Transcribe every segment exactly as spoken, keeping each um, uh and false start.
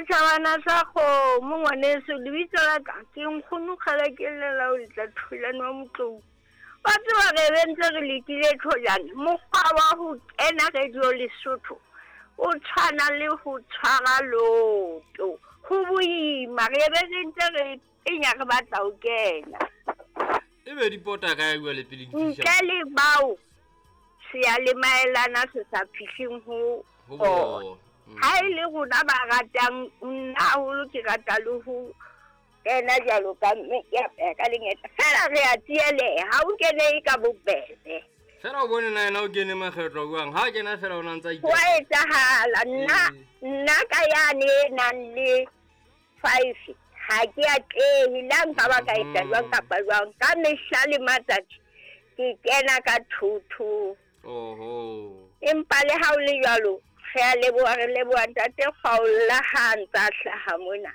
Setjhabana sa kgomo ngwaneso, lebitso la ka ke nkgono kgale ke llela ho letla Tholane wa Motlou. Wa tseba re be ntse re lekile Tholane, mokgwa wa ho kena Radio Lesotho o tshwana le ho tshwara loto. Ho boima, re be re ntse re penya re batla ho kena. Ebe di pota kae jwale pele di fihla? Ntle le bao seyalemaelana se sa fihleng ho Ho bona. bona. Mm. Ha e le rona ba ratang, nna haholo ke rata le ho kena jwalo ka mme ke apeha ka lengeta. Feela re a tsieleha, ha o kene ka bobebe. Fela o bone na yena o kene makgetlo jwang? Ha kena fela o na ntsa Ho a etsahala, nna Ee. nna ka yane e nang le five ha ke atlehe, le ha nka ba ka etsa Mhm. jwang kapa jwang. Ka mehla le matsatsi ke kena ka two two. Oho. Empa le ha o le jwalo, re a leboha, re leboha ntate Kgaola ha a ntsa hlaha mona.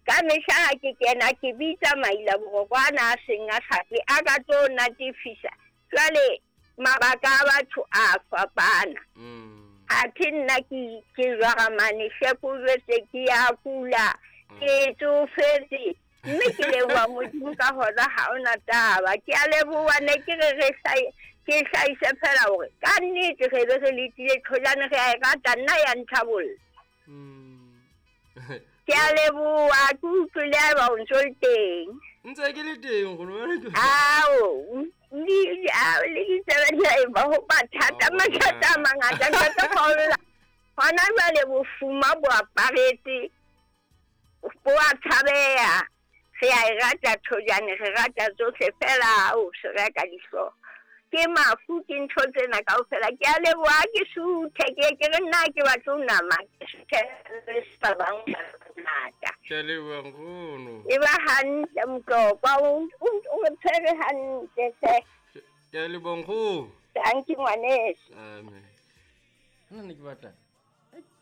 Ka mehla ha ke kena ke bitsa maila boroko ana a seng a sa tle, a ka tlo natefisa. Jwale mabaka a batho a fapana. Mm. Athe nna ke ke jwara mane, shepo jwetse ke ya kula, ke tsofetse. Mme ke leboha Modimo ka hona ha hona taba. Ke a leboha, ne ke re re hlae-, ke hlahise fela hore ka nnete re be re letile Tholane, re a e rata, nna ya nthabolla. Mm. Ke a leboha, ke utlwile haeba o ntso le teng. Ntse ke le teng nkgono, wena ke- Ao, le, ao, le ditsebe di a eba ho mathata, Ao, mathata a na. mangata, ntate Kgaola. Hona jwale bofuma bo aparetse, bo a tshabeha. Re a e rata Tholane, re rata tsohle fela, ao, se reka dihlooho. Ke mafu, ke ntho tsena kaofela. Ke a leboha, ke suthe, ke ke re nna ha ke batle ho nama, ke suthe le ba bang ba bangata. Ke a leboha nkgono. E ba hantle Motlokwa, o, o, o re tshwere hantle hle. Ke a leboha nkgono. Thank you ngwaneso. Amen. Nna ne ke batla.